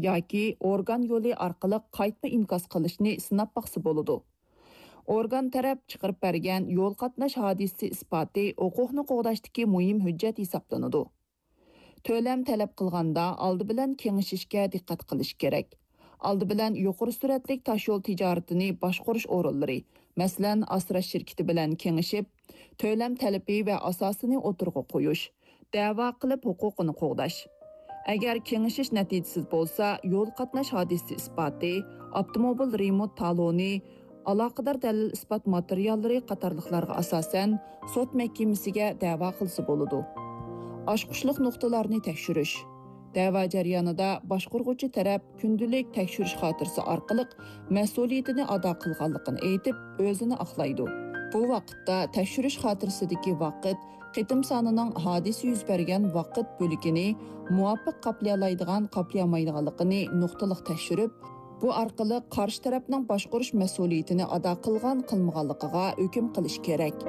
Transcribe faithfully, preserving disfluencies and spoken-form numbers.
ياكى ئورگان يولى ئارقىلىق قايتما ئىنكاس قىلىشنى سىناپ باقسا بولىدۇ. ئورگان تەرەپ چىقىرىپ بەرگەن يول قاتناش ھادىسىسى ئىسپاتى ھوقۇقنى قوغداشتىكى مۇھىم ھۆججەت ھېسابلىنىدۇ. تۆلەم تەلەپ قىلغاندا ئالدى بىلەن كېڭىشىشكە دىققەت قىلىش كېرەك. ئالدى بىلەن يۇقىرى سۈرئەتلىك تاشيول تىجارىتىنى باشقۇرۇش ئورۇنلىرى، مەسىلەن، ئاسراش شىركىتى بىلەن كېڭىشىپ، تۆلەم تەلىپى ۋە ئاساسىنى ئوتتۇرىغا قويۇش، دەۋا قىلىپ ھوقۇقىنى قوغداش. ئەگەر كېڭىشىش نەتىجىسىز بولسا، يول قاتناش ھادىسىسى ئىسپاتى، ئاپتوموبىل رېمونت تالونى، ئالاقىدار دەلىل-ئىسپات ماتېرىياللىرى قاتارلىقلارغا ئاساسەن سوت مەھكىمىسىگە دەۋا قىلسا بولىدۇ. ئاچقۇچلۇق نۇقتىلارنى تەكشۈرۈش. دەۋا جەريانىدا باشقۇرغۇچى تەرەپ كۈندىلىك تەكشۈرۈش خاتىرىسى ئارقىلىق مەسئۇلىيىتىنى ئادا قىلغانلىقىنى ئېيتىپ، ئۆزىنى ئاقلايدۇ. بۇ ۋاقىتتا تەكشۈرۈش خاتىرىسىدىكى ۋاقىت قېتىم سانىنىڭ ھادىسە يۈز بەرگەن ۋاقىت بۆلىكىنى مۇۋاپىق قاپلىيالايدىغان، قاپلىيالمايدىغانلىقىنى نۇقتىلىق تەكشۈرۈپ، بۇ ئارقىلىق قارشى تەرەپنىڭ باشقۇرۇش مەسئۇلىيىتىنى ئادا قىلغان، قىلمىغانلىقىغا ھۆكۈم قىلىش كېرەك.